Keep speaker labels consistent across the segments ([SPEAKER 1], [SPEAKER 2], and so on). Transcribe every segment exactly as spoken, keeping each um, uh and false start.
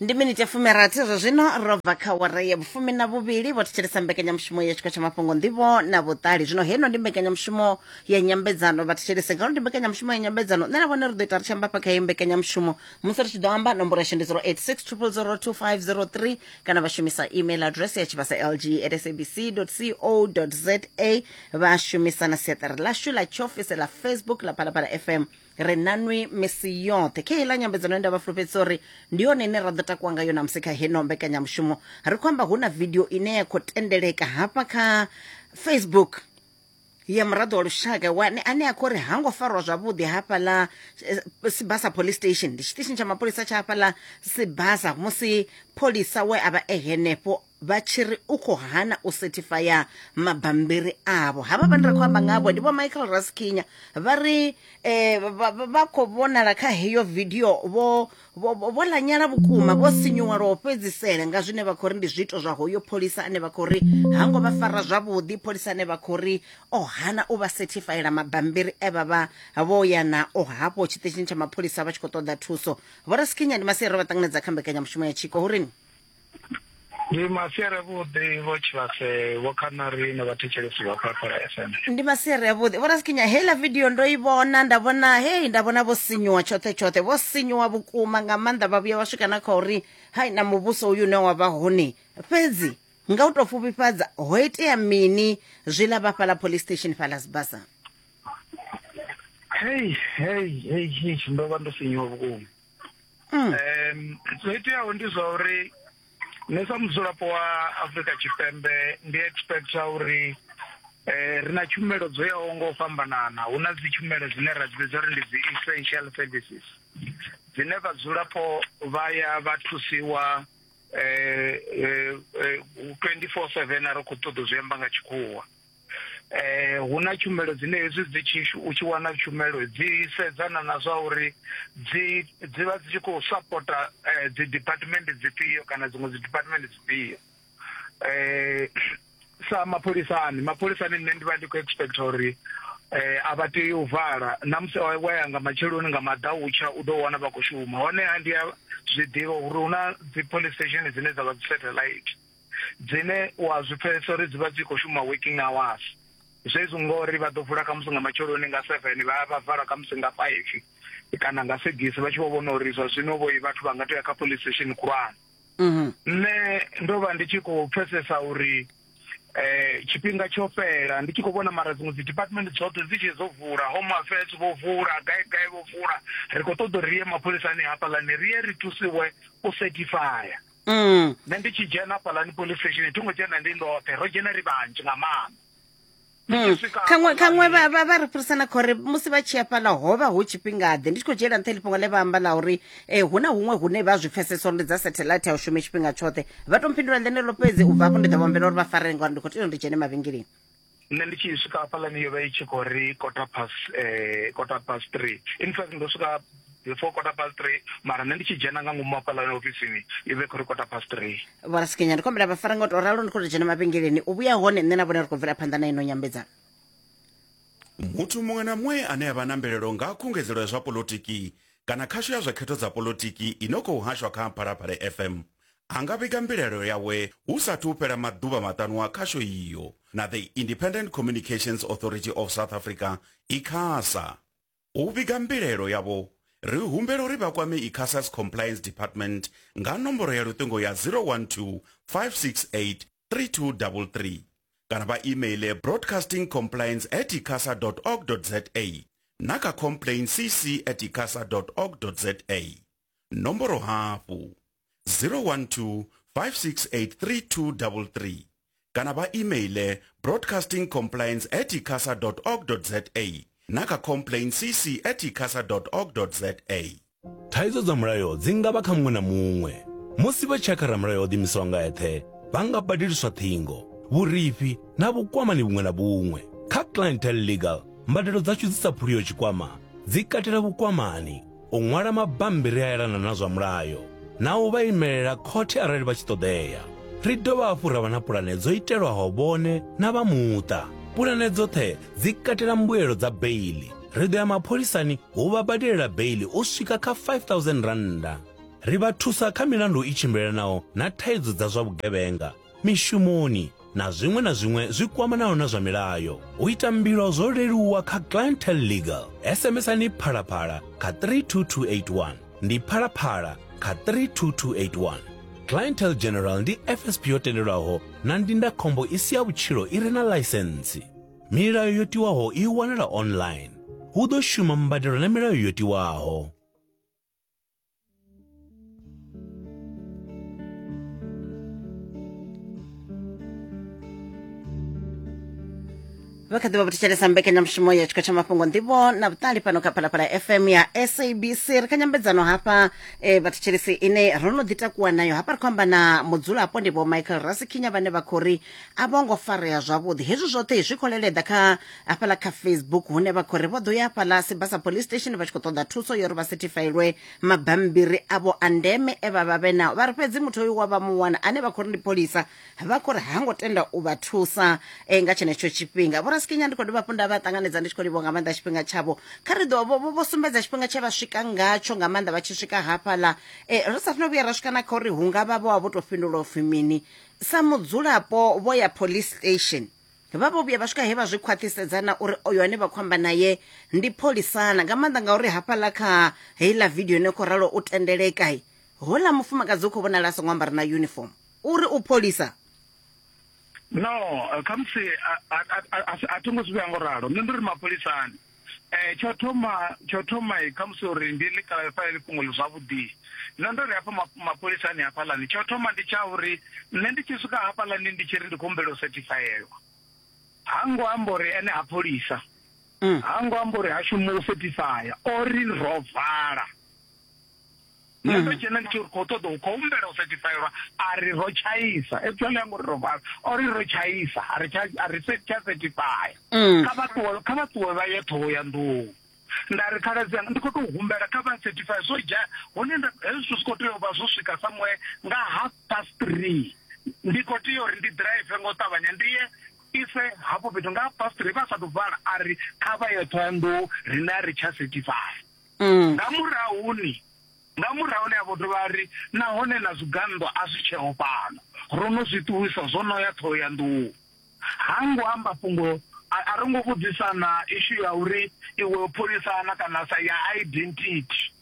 [SPEAKER 1] Ndi miniti ya fumirathi zwa zwino ro bva kha wara ya vhufumi na vhuvhili. Vho thetshelesa mbekanyamushumo ya tshikwa tsha mafhungo, nḓivho na vhuṱali. Zwino heno ndi mbekanyamushumo ya nyambedzano. Vha thetshelese ngauri ndi mbekanyamushumo ya nyambedzano, nṋe na vhone ri ḓo ita ri tshi amba hafha kha heyi mbekanyamushumo. Musi ri tshi ḓo amba, nomboro yashu ndi zero eight six triple zero two five zero three, kana vha shumisa email address ya tshivhasa L G at S A B C co za. Vha shumisa na siaṱari ḽashu ḽa tshiofisi ḽa Facebook ḽa Phalaphala F M. Ri nanwi misi yoṱhe kha heiḽa nyambedzano. Nda vha fulufhedzisa uri ndi yone ine ra ḓo takuwa ngayo namusi kha heno mbekanyamushumo. Ri khou amba hu na video ine ya khou tendeleka hafha kha Facebook ya muraḓo wa lushaka wane ane a khou ri hango farwa zwavhuḓi hafhaḽa eh, Sibasa Police Station. Ndi tshiṱitshini tsha mapholisa tsha hafhaḽa Sibasa, musi pholisa we a vha e henefho vha tshi ri u khou hana u sethifaya mabambiri avho. Havha vhane ra khou amba ngavho ndi vho Michael Raskinha. Vha ri eh, vha vha khou vhonala kha heyo video vho vho vho lanyala vhukuma, vho sinyuwa lwa u fhedzisela nga zwine vha khou ri ndi zwiito zwa hoyo pholisa ane vha khou ri hango vha fara zwavhuḓi, pholisa ane vha khou ri o hana u vha sethifayela mabambiri e vha vha vho ya nao hafho tshiṱitshini tsha mapholisa vha tshi khou ṱoḓa thuso. Vho Raskinha, ndi masiari, vha ṱanganedza kha mbekanyamushumo ya Tshiko hurini.
[SPEAKER 2] Ndi masiari avhuḓi, Vho Tshivhase, Vho Khanari na vhathetshelesi vha Phalaphala F M.
[SPEAKER 1] Ndi masiari avhuḓi, Vho Raskinha. Heiḽa video ndo i vhona, nda vhona hei, nda vhona vho sinyuwa tshoṱhe tshoṱhe, vho sinyuwa vhukuma nga maanḓa, vha vhuya vha swika na kha uri hai na muvhuso uyu une wa vha hone. Fhedzi nga u tou pfufhifhadza, ho itea mini zwiḽa vha fhaḽa police station fhaḽa Sibasa?
[SPEAKER 2] Hei hei hei hei, ndo vha ndo sinyuwa vhukuma.
[SPEAKER 1] mm.
[SPEAKER 2] um zwo iteaho ndi zwa uri nṋe sa mudzulapo wa Afrika Tshipembe ndi expecta uri eh ri na tshumelo dzo yaho nga u fhambanana. Hu na dzi tshumelo dzine ra dzi vhidza uri ndi dzi essential services, dzine vhadzulapo vha ya vha thusiwa eh eh twenty-four seven, a ri khou ṱoḓa zwi amba nga tshikhuwa. eh hu na tshumelo dzine hezwi dzi tshi u tshi wana tshumelo dzi sedzana na zwa uri dzi dzi vha dzi tshi khou sapota eh, dzi department dzifhio kana dziṅwe dzi department dzifhio. eh sa mapholisani mapholisani nṋe ndi vha ndi khou expect uri eh a vha tei u vala na musi wa ya nga matsheloni, nga maḓautsha u ḓo wana vha khou shuma. Honeha ndi a zwi ḓivha uri hu na dzi police station dzine dza vha dzi satellite, dzine wa zwi pfesesa uri dzi vha dzi khou shuma working hours, zwezwi ngori vha ḓo vula khamusi nga matsheloni nga seven, vha vha vala khamusi nga five kana nga six, vha tshi vho vhona uri zwa zwino vho vhathu vha nga tea kha police station khulwane.
[SPEAKER 1] Mm
[SPEAKER 2] Nṋe ndo vha ndi tshi khou pfesesa uri eh tshifhinga tsho fhela, ndi tshi khou vhona mara dziṅwe dzi department dzoṱhe dzi tshi dzo vula, Home Affairs vho vula, gai gai vho vula, ri khou ṱoḓa uri ri ye mapholisani hafhaḽani ri ye ri thusiwe u certifya.
[SPEAKER 1] Mm.
[SPEAKER 2] Nṋe ndi tshi dzhena hafhaḽani police station, thi ngo dzhena ndi ndoṱhe, ro dzhena ri vhanzhi nga maanḓa. Ndi
[SPEAKER 1] Mm.
[SPEAKER 2] tshi swika
[SPEAKER 1] khaṅwe khaṅwe
[SPEAKER 2] hafhaḽani-
[SPEAKER 1] vha vha vha ri fhirisana khori musi vha tshi ya fhaḽa ho vha hu tshifhingaḓe? Ndi tshi khou dzhiela nṱha heḽi fhungo ḽe vha amba ḽa uri eh, hu na huṅwe hune vha zwi pfesesa uri ndi dza satellite, a u shume tshifhinga tshoṱhe. Vha to mphindula ḽeneḽo fhedzi, u bva hafho ndi ḓo vha humbela uri vha farele ngauri ndi khou tea uri ndi dzhene mavhengeleni.
[SPEAKER 2] Nṋe ndi tshi swika hafhaḽani yo vha i tshi khou ri quarter past eh quarter past three. In fact, ndo swika before quarter past three, mara nṋe ndi tshi dzhena nga ngomu hafhaḽani ofisini i vhe khou ri quarter past three.
[SPEAKER 1] Vho Raskinha, ndi khou humbela vha fare nga u tou ralo, ndi khou tou dzhena mavhengeleni, u vhuya hone nṋe na vhone ri khou bvela phanḓa na ino nyambedzano.
[SPEAKER 3] Muthu muṅwe na muṅwe ane a vha na mbilaelo nga khungedzelo ya zwa polotiki kana khasho ya zwa khetho dza polotiki ino khou hashwa kha Phalaphala F M a nga vhiga mbilaelo yawe hu sathu fhela maḓuvha maṱanu a khasho iyo na the Independent Communications Authority of South Africa, ICASA. U vhiga mbilaelo yavho, ri humbela uri vha kwame ICASA's Compliance Department nga nomboro ya luṱingo ya zero one two, five six eight three two three three kana vha emaile broadcasting compliance at icasa org za na kha complaint C C at icasa org za. Nomboro hafhu zero one two, five six eight, three two three three kana vha emaile broadcasting compliance at icasa org za na kha complaint C C at icasa org za.
[SPEAKER 4] Thaidzo dza mulayo dzi nga vha kha muṅwe na muṅwe. Musi vha tshi ya kha ramulayo o ḓiimisaho nga eṱhe, vha nga badeliswa ṱhingo, vhurifhi na vhukwamani vhuṅwe na vhuṅwe. Kha Clientele Legal, mbadelo dzashu dzi sa phuliho tshikwama dzi katela vhukwamani, u ṅwala mabambiri a elana na zwa mulayo na u vha imelela khothe arali vha tshi ṱoḓea. Ri dovha hafhu ra vha na pulane dzo itelwaho vhone na vha muṱa. Pulane dzoṱhe dzi katela mbuelo dza beiḽi. Ri ḓo ya mapholisani hu vha badelela beiḽi u swika kha five thousand rannda. Ri vha thusa kha milandu i tshimbilelanaho na thaidzo dza zwa vhugevhenga, mishumoni na zwiṅwe na zwiṅwe zwi kwamanaho na zwa milayo. U ita mbilo zwo leluwa kha Clientele Legal. S M S ani Phalaphala kha three two two eight one. Ndi Phalaphala kha three two two eight one. Clientele General ndi F S P yo tendelwaho na ndindakhombo i si ya vhutshilo i re na ḽaisentsi. Milayo yo tiwaho i wanala online. Hu ḓo shuma mbadelo na milayo yo tiwaho.
[SPEAKER 1] Vha kha ḓi vha thetshelesa mbekanyamushumo ya tshikho tsha mafhungo nḓivho na vhuṱali fhano kha Phalaphala F M ya S A B C. Ri kha nyambedzano hafha eh, vhathetshelesi ine ro no ḓi takuwa nayo hafha. Ri khou amba na mudzulapo ndi Vho Michael Rasekhinya vhane vha khou ri a vho ngo farea zwavhuḓi. Hezwi zwoṱhe zwi khou leleḓa kha hafhaḽa kha Facebook hune vha khou ri vho ḓo ya hafhaḽa Sibasa Police Station vha tshi khou ṱoḓa thuso yo uri vha setifailwe mabambiri avho a ndeme e vha vha vhe nao. Vha ri fhedzi muthu oyu wa vha muwana ane vha khou ri ndi pholisa vha khou ri ha ngo tenda u vha thusa eh, nga tshenetsho tshifhinga. Vho Rasekhinya ndi khou dovha hafhu nda vha ṱanganedza ndi tshi khou livhuwa nga maanḓa tshifhinga tshavho. Kha ri ḓo vho vho sumbedza tshifhinga tshe vha swika ngatsho nga maanḓa vha tshi swika hafhaḽa. Eh, ri sa no vhuya ra swika na kha uri hu nga vha vho vha vho tou fhindula upfhi mini. Sa mudzulapo vho ya police station vha vho vhuya vha swika he vha zwi khwaṱhisedzana uri oyo ane vha khou amba naye ndi pholisana, nga maanḓa ngauri hafhaḽa kha heiḽa video ine khou ralo u tendeleka houḽa mufumakadzi u khou vhonala a songo ambara na uniform uri u pholisa.
[SPEAKER 2] No, khamusi a thi ngo zwi vhea ngo ralo. Nṋe ndi ri mapholisani eh tsho thoma tsho thoma khamusi uri ndi ḽi clarify ḽi fhungo ḽi zwavhuḓi. Nṋe ndo ri hafha mapholisani hafhaḽani tsho thoma ndi tsha uri nṋe ndi tshi swika hafhaḽani ndi tshi ri ndi khou humbela u setifaelwa. Ha ngo amba uri ene ha pholisa, ha ngo amba uri ha shumi u setifaya, o ri ro vala. Nṋe ndo dzhena ndi tshi ri khou ṱoḓa u khou humbela u setifaelwa, a ri ro tshaisa. Actually a ngo ri ro vala, o ri ro tshaisa, a ri tsha a ri tsha setifaya. Kha vha ṱuwe kha vha ṱuwe vha ye Ṱhohoyanḓou. Nda ri khaladzi anga ndi khou tou humbela kha vha certify zwo dzhia hone nda hezwi zwithu zwi khou tea u vha zwo swika somewhere nga half past three. Ndi khou tea uri ndi drive ngo ṱavhanya ndi ye ise hafho fhethu nga half past three vha sa tou vala, a ri kha vha ye Ṱhohoyanḓou riṋe a ri tsha certify. Nga murahuni nga murahu ne a vho dovha ri nahone na zwigannḓo a zwi tsheho fhano, ro no zwi ṱuwisa zwo no ya Ṱhohoyanḓou. Ha ngo amba fhungo, a ro ngo vhudzisana issue ya uri iwe pholisana kana sa ya identity.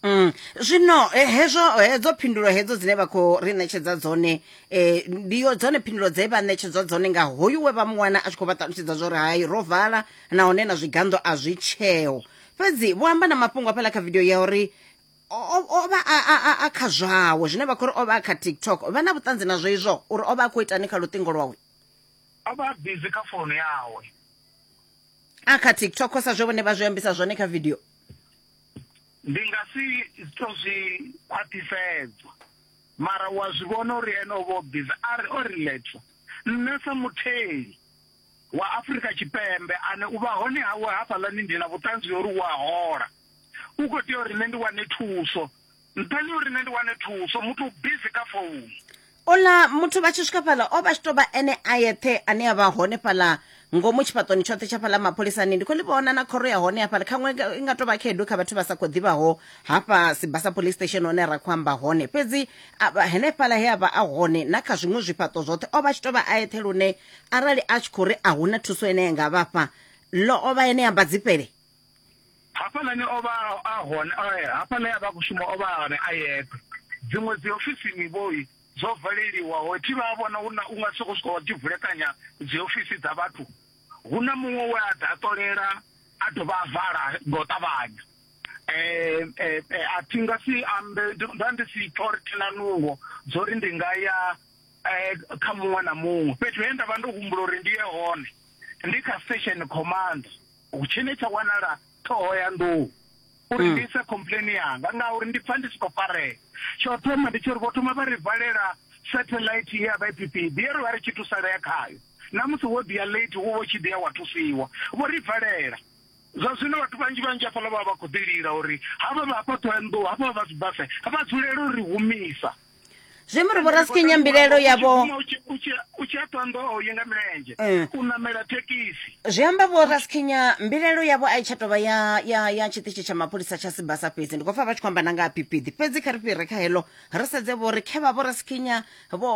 [SPEAKER 1] Mm. Zwino hezwo hedzo phindulo hedzo dzine vha khou ri ṋetshedza dzone eh, ndi yo dzone phindulo dze vha ṋetshedzwa dzone nga hoyu we vha muwana a tshi khou vha ṱalutshedza zwo ri hai ro vala nahone na zwigannḓo a zwi tsheo. Fhedzi vho amba na mafhungo hafhaḽa kha video ya uri o vha a kha zwawe zwine vha khou ri o vha a kha TikTok. Vha na vhuṱanzi nazwo izwo uri o vha a khou itani kha luṱingo lwawe?
[SPEAKER 2] O vha busy kha founu yawe
[SPEAKER 1] a kha TikTok sa zwe vhone vha zwi ambisa zwone kha video.
[SPEAKER 2] Ndi nga si to zwi khwaṱhisedza, mara wa zwi vhona uri ene o vha o busy, a ri o relaxa. Nṋe sa mutheli wa Afrika Tshipembe ane u vha hone hawe hafhaḽani ndi na vhuṱanzi uri wa hola, u khou tea uri nṋe ndi wane thuso. Nṱhani uri nṋe ndi wane thuso, muthu u busy kha founu.
[SPEAKER 1] Ola muthu vha tshi swika fhaḽa o vha tshi tou vha ene a yeṱhe ane a vha hone fhaḽa ngomu tshifhaṱoni tshoṱhe tsha fhaḽa mapholisani. Ndi khou ḽi vhona na khoro ya hone hafhaḽa, khaṅwe i nga tou vha khaedu kha vhathu vha sa khou ḓivhaho hafha Sibasa Police Station hone ra khou amba hone. Fhedzi henefhaḽa he a vha a hone na kha zwiṅwe zwifhaṱo zwoṱhe o vha tshi tou vha a yeṱhe, lune arali a tshi khou ri a huna thuso ine ya nga vhafha ḽo o vha ene amba dzifhele.
[SPEAKER 2] Hafhaḽani o vha a hone, hafhaḽa ya vha khou shuma o vha a hone a yeṱhe. Dziṅwe dzi ofisini vhoi dzo valeliwaho, thi vha vhona huna u nga soko swika wa tshi vulekanya dzi ofisi dza vhathu. Hu na muṅwe we a ḓa a ṱolela a dovha a vala nga u ṱavhanya. Eh eh a thi nga si ambe, nda ndi si pfa uri thina nungo dzo ri ndi nga ya kha muṅwe na muṅwe. Fhethu he nda vha ndo humbula uri ndi ye hone ndi kha station command tshine tsha wanala Ṱhohoyanḓou, uri ndi ise complain yanga ngauri ndi pfa ndi si khou farea. Tsho thoma ndi tshi uri vho thoma vha ri valela satellite ya vha I P P B ye ri vha ri tshi thusalea khayo, na musi wo ḓi ya late wo vho tshi ḓi ya wa thusiwa, vho ri valela. Zwa zwino vhathu vhanzhi vhanzhi hafhaḽa vha vha khou ḓi lila uri havha vha hafha Ṱhohoyanḓou, hafha vha Sibasa vha dzulele uri humisa.
[SPEAKER 1] Zwi amba uri vhorasikhinya mbilaelo yavho
[SPEAKER 2] U tshi- u tshi- u tshi ya Thohoyandou ye nga milenzhe
[SPEAKER 1] Mm.
[SPEAKER 2] u namela thekhisi.
[SPEAKER 1] Zwi amba vhorasikhinya mbilaelo yavho a i tsha tovha ya ya ya tshiṱitshi tsha mapholisa tsha Sibasa fhedzi. Ndi khou pfa vha tshi khou amba na nga ha Phiphiḓi fhedzi. Kha ri fhire kha heḽo ri sedze vho ri khe vha vhorasikhinya vho